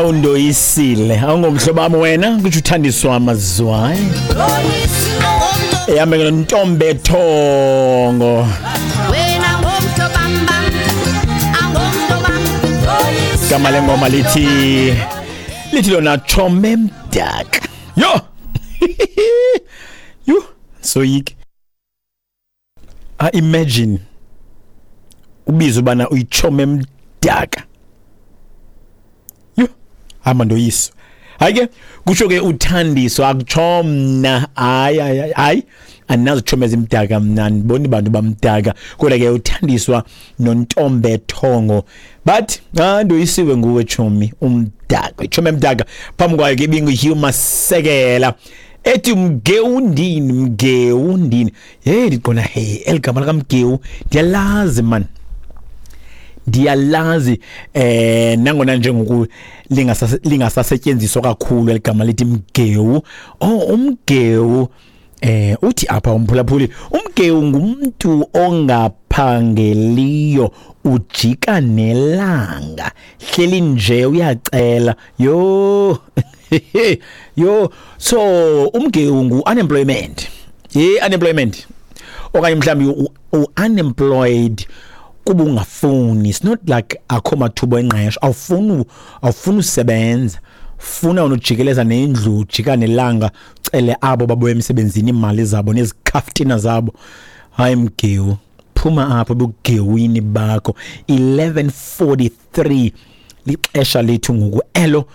Awundoyisile, awungomhlobo wam wena, kutsho uThandiswa Mazwai. Ehambe nontombe thongo. Gama lengoma lithi lona Chome Mdaka. Yo! Yho, soyike. I imagine ubiza ubana uyichome mdaka. Yho, hamba ndoyiswa. Hayi ke, kutsho ke uThandiswa, akutsho mna. Hayi, hayi, hayi, andinazi tshomi ezimdaka mna, andiboni bantu bamdaka. Kodwa ke uThandiswa noNtombe Thongo bathi, ah, ndoyisiwe nguwe tshomi umdaka, itshomi emdaka. Phambi kwayo ke ibinguHugh Masekela ethi mgewundini, mgewundini. Hey, ndiqonda, hey, eli gama likaMgewu ndiyalazi man, ndiyalazi. Nangona njengoku lingasasetyenziswa kakhulu eligama lithi mgewu. Oh, umgewu, uthi apha umphulaphuli, umgewu ngumntu ongaphangeliyo, ujika nelanga, hleli nje uyacela. Yho, yho, so umgewu ngu-unemployment. Ye, unemployment okanye mhlawumbi u-unemployed kuba ungafuni. It's not like akho mathuba engqesho, awufuni usebenza, funa unojikeleza nendlu, ujika nelanga, cele abo babuya emsebenzini iimali zabo nezikhaftina zabo. Hayi mgewu, phuma apho bugewini bakho. 11:43 lixesha lethu ngoku elo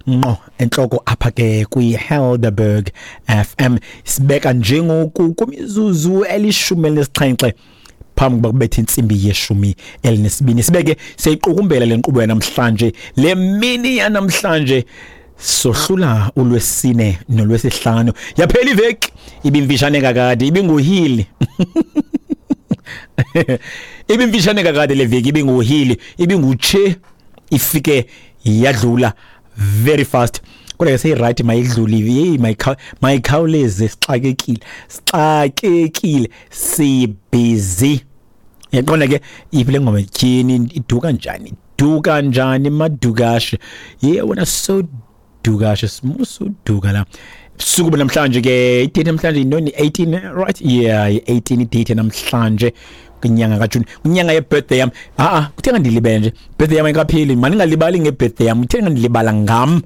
ngqo entloko apha ke kwi-Helderberg FM. Sibeka njengoku kwimizuzu 17 phambi kokuba kubethe intsimbi ye-12. Sibeke siyayiqukumbela le nkqubo yanamhlanje, le mini yanamhlanje. Sohlula ulwesine nolwesihlanu, yaphela iveki, ibimfishane kakade, ibinguhili, ibimfishane kakade le veki, ibinguhili, ibingutshe, ifike yadlula very fast. Kodwa ke seyirayithi, mayidlule, yeyi, mayikhawuleze, sixakekile, sixakekile, sibhizi. Yaqonda ke iphi le ngoma? Tyhini, iduka njani, iduka njani madukashe? Ye wena, so dukashe, simusuduka la. Suku namhlanje ke, idate namhlanje yintoni? 18, right? Yeah, 18 idate namhlanje kwinyanga kaJuni, kwinyanga yebirthday yam. A-a, kuthe ngandilibele nje, birthday yam ayikapheli. Mandingalibali ngebirthday yam, kuthe ngandilibala ngam.